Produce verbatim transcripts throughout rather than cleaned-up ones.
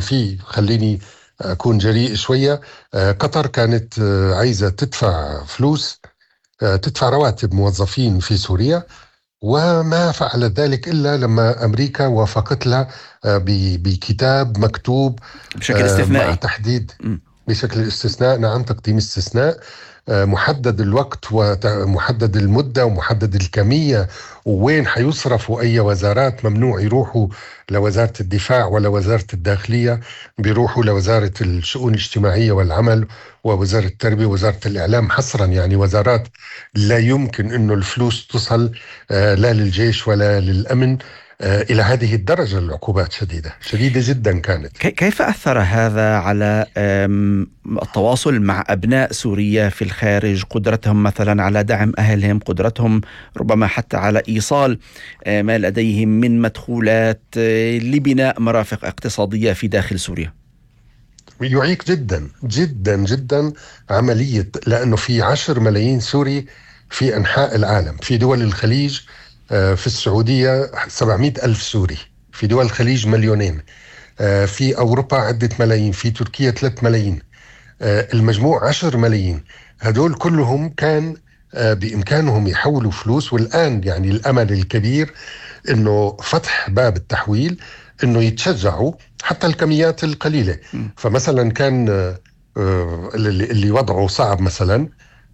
في خليني أكون جريء شوية. قطر كانت عايزة تدفع فلوس، تدفع رواتب موظفين في سوريا، وما فعلت ذلك إلا لما أمريكا وافقت لها بكتاب مكتوب بشكل استثنائي مع تحديد م. بشكل استثناء، نعم، تقديم استثناء، محدد الوقت ومحدد المدة ومحدد الكمية، ووين حيصرفوا أي وزارات. ممنوع يروحوا لوزارة الدفاع ولا وزارة الداخلية، بيروحوا لوزارة الشؤون الاجتماعية والعمل ووزارة التربية ووزارة الإعلام حصرا، يعني وزارات لا يمكن أنه الفلوس تصل لا للجيش ولا للأمن. إلى هذه الدرجة العقوبات شديدة شديدة جدا كانت. كيف أثر هذا على التواصل مع أبناء سوريا في الخارج، قدرتهم مثلا على دعم أهلهم، قدرتهم ربما حتى على إيصال ما لديهم من مدخولات لبناء مرافق اقتصادية في داخل سوريا؟ يعيق جدا جدا جدا عملية، لأنه في عشر ملايين سوري في أنحاء العالم، في دول الخليج في السعودية سبعمائة ألف سوري، في دول الخليج مليونين، في أوروبا عدة ملايين، في تركيا ثلاثة ملايين، المجموع عشر ملايين. هدول كلهم كان بإمكانهم يحولوا فلوس، والآن يعني الأمل الكبير إنه فتح باب التحويل، إنه يتشجعوا حتى الكميات القليلة. فمثلا كان اللي وضعه صعب مثلا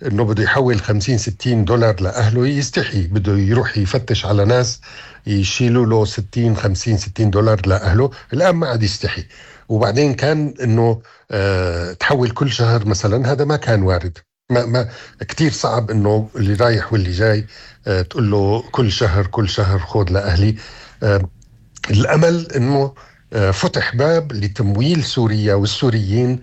إنه بده يحول خمسين ستين دولار لأهله يستحي، بده يروح يفتش على ناس يشيلوا له ستين خمسين ستين دولار لأهله، الآن ما عاد يستحي. وبعدين كان إنه اه تحول كل شهر مثلا، هذا ما كان وارد، ما ما كتير صعب إنه اللي رايح واللي جاي اه تقول له كل شهر كل شهر خود لأهلي. اه الأمل إنه اه فتح باب لتمويل سوريا والسوريين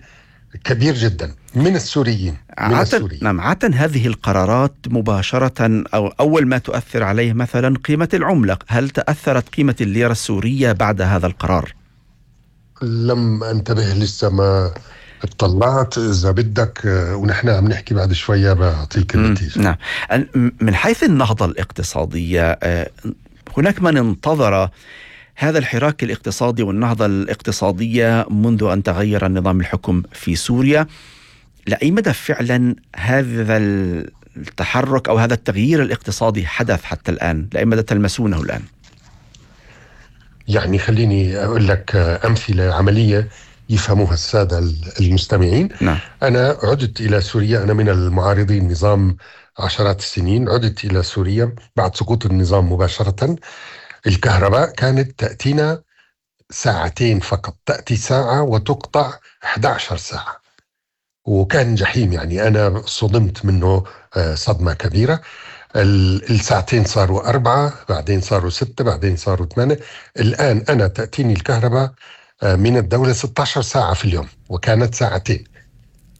كبير جدا من السوريين من عادة نعم عادة هذه القرارات مباشرة أو أول ما تؤثر عليه مثلا قيمة العملة. هل تأثرت قيمة الليرة السورية بعد هذا القرار؟ لم انتبه لسه، ما اطلعت. إذا بدك ونحن عم نحكي بعد شوية بعطيك النتيجة. نعم. من حيث النهضة الاقتصادية، هناك من انتظر هذا الحراك الاقتصادي والنهضة الاقتصادية منذ أن تغير النظام الحكم في سوريا. لأي مدى فعلا هذا التحرك أو هذا التغيير الاقتصادي حدث حتى الآن؟ لأي مدى تلمسونه الآن؟ يعني خليني أقول لك أمثلة عملية يفهموها السادة المستمعين. نعم. أنا عدت إلى سوريا، أنا من المعارضين النظام عشرات السنين، عدت إلى سوريا بعد سقوط النظام مباشرة. الكهرباء كانت تأتينا ساعتين فقط، تأتي ساعة وتقطع إحدى عشرة ساعة، وكان جحيم، يعني أنا صدمت منه صدمة كبيرة. الساعتين صاروا أربعة، بعدين صاروا ستة، بعدين صاروا ثمانية. الآن أنا تأتيني الكهرباء من الدولة ستة عشر ساعة في اليوم، وكانت ساعتين.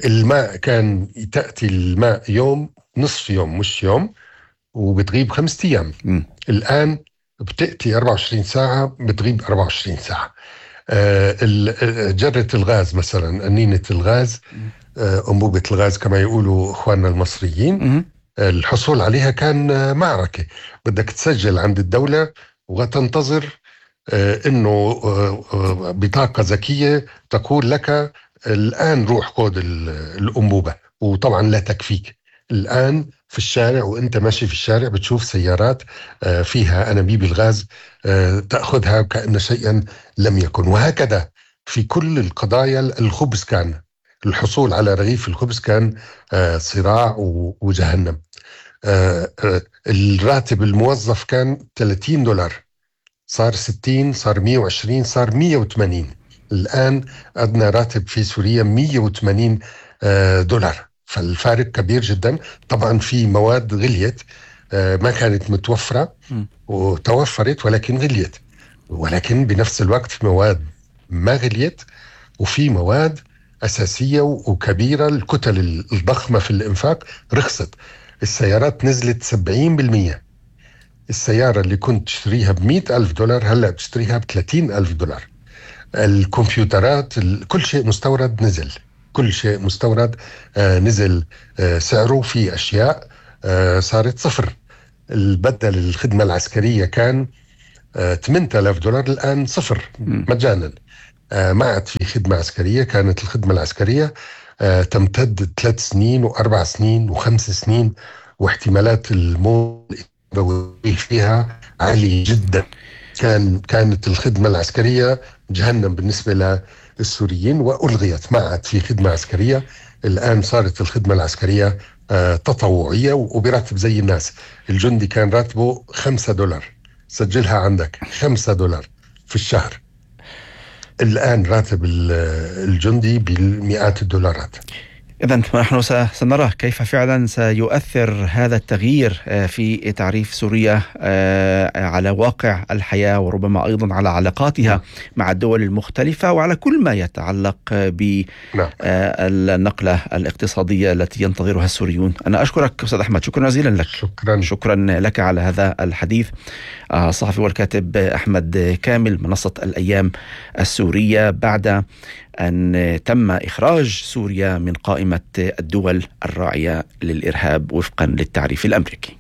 الماء كان تأتي الماء يوم، نصف يوم مش يوم، وبتغيب خمسة أيام. م. الآن بتأتي أربعة وعشرين ساعة، بتغيب أربعة وعشرين ساعة. آه جرة الغاز مثلا، أنينة الغاز، آه أنبوبة الغاز كما يقولوا إخواننا المصريين، م. الحصول عليها كان معركة. بدك تسجل عند الدولة وتنتظر آه إنه آه بطاقة ذكية تقول لك الآن روح خذ الأنبوبة، وطبعا لا تكفيك. الآن في الشارع وانت ماشي في الشارع بتشوف سيارات فيها أنابيب الغاز، تأخذها كأن شيئا لم يكن. وهكذا في كل القضايا. الخبز كان الحصول على رغيف الخبز كان صراع وجهنم. الراتب الموظف كان ثلاثين دولار، صار ستين، صار مية وعشرين، صار مية وثمانين. الآن أدنى راتب في سوريا مية وثمانين دولار، فالفارق كبير جدا. طبعا في مواد غليت ما كانت متوفرة وتوفرت ولكن غليت، ولكن بنفس الوقت في مواد ما غليت، وفي مواد أساسية وكبيرة، الكتل الضخمة في الإنفاق رخصت. السيارات نزلت سبعين بالمية. السيارة اللي كنت تشتريها بمئة ألف دولار هلأ بتشتريها بثلاثين ألف دولار. الكمبيوترات، كل شيء مستورد نزل، كل شيء مستورد آه نزل آه سعره. في أشياء آه صارت صفر. البدل الخدمة العسكرية كان آه ثمانية آلاف دولار، الآن صفر مجانا. ما عاد في خدمة عسكرية. كانت الخدمة العسكرية تمتد ثلاث سنين وأربع سنين وخمس سنين، واحتمالات الموت فيها عالية جدا. كان كانت الخدمة العسكرية جهنم بالنسبة للسوريين، وألغيت، ما عاد في خدمة عسكرية. الآن صارت الخدمة العسكرية تطوعية وبراتب زي الناس. الجندي كان راتبه خمسة دولار، سجلها عندك، خمسة دولار في الشهر. الآن راتب الجندي بالمئات الدولارات. إذن نحن سنرى كيف فعلا سيؤثر هذا التغيير في تعريف سوريا على واقع الحياة، وربما أيضا على علاقاتها مع الدول المختلفة، وعلى كل ما يتعلق بالنقلة الاقتصادية التي ينتظرها السوريون. أنا أشكرك أستاذ أحمد، شكرا جزيلا لك. شكرا. شكرا لك على هذا الحديث. الصحفي والكاتب أحمد كامل، منصة الأيام السورية، بعد أن تم إخراج سوريا من قائمة الدول الراعية للإرهاب وفقا للتعريف الأمريكي.